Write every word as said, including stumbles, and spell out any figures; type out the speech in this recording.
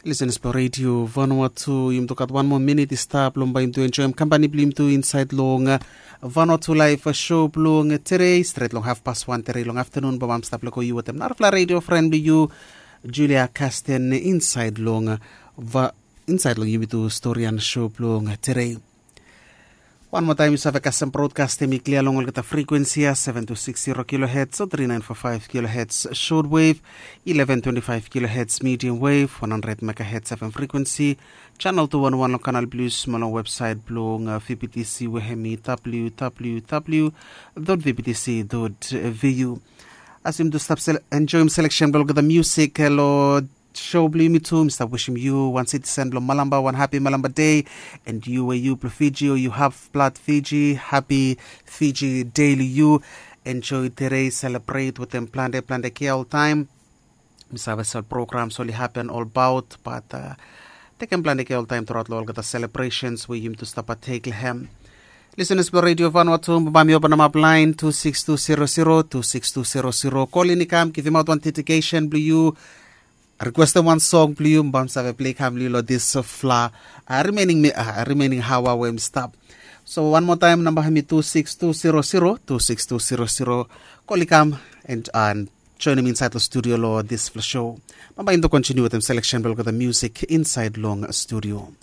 Lisenas blong redio Vanuatu, yumi tu gat wan moa minit i stap long bai yumi tu enjoim kampani blong yumi tu insaed long Vanuatu laif show blong tere, stret long hafpas wan tere long aftanun, bai mam stap lego yu wetem narafala redio fren blong yu, Julia Kasten, insaed long va insaed long yumi tu storian show blong tere. Wan moa taem yu save kasem brodkastem i klia long olgeta frekuensi ya, seven two six zero kilohertz o three nine four five kilohertz short wave, eleven twenty five kilohertz medium wave, one hundred megahertz F M frekuensi, channel two one one long kanal blue small long websaet blong V B T C we hem i W W W dot V B T C dot V U. As yumi tu stap enjoim selection blong olgeta musik long show blong yumi tu, mi stap wisim yu wan citizen blong Malamba wan hapi Malamba dei, and yu we yu blong Fiji o yu haf blad Fiji, hapi Fiji dei long yu. Enjoy tere, selebret wetem plante plante kea oltaem. Mi save sel programs oli hapen olbaot, bat tekem plante kea oltaem truaot long olgeta selebresens we yumi tu stap atek long hem. Lisenas blong redio Vanuatu, bai mi openem ap laen two six two zero zero two six two zero zero. Kolin i kam givimaot wan dedikesen blong yu, rikwestem wan song blong yu, bai mi save plei kam long yu long disfala rimening haoa we mi stap. So wan moa taem namba hem i two six two zero zero two six two zero zero. Kol i kam and joenem insaed long studio long disfala show. Bambae yumi tu kontiniu wetem seleksen blong olgeta musik insaed long studio.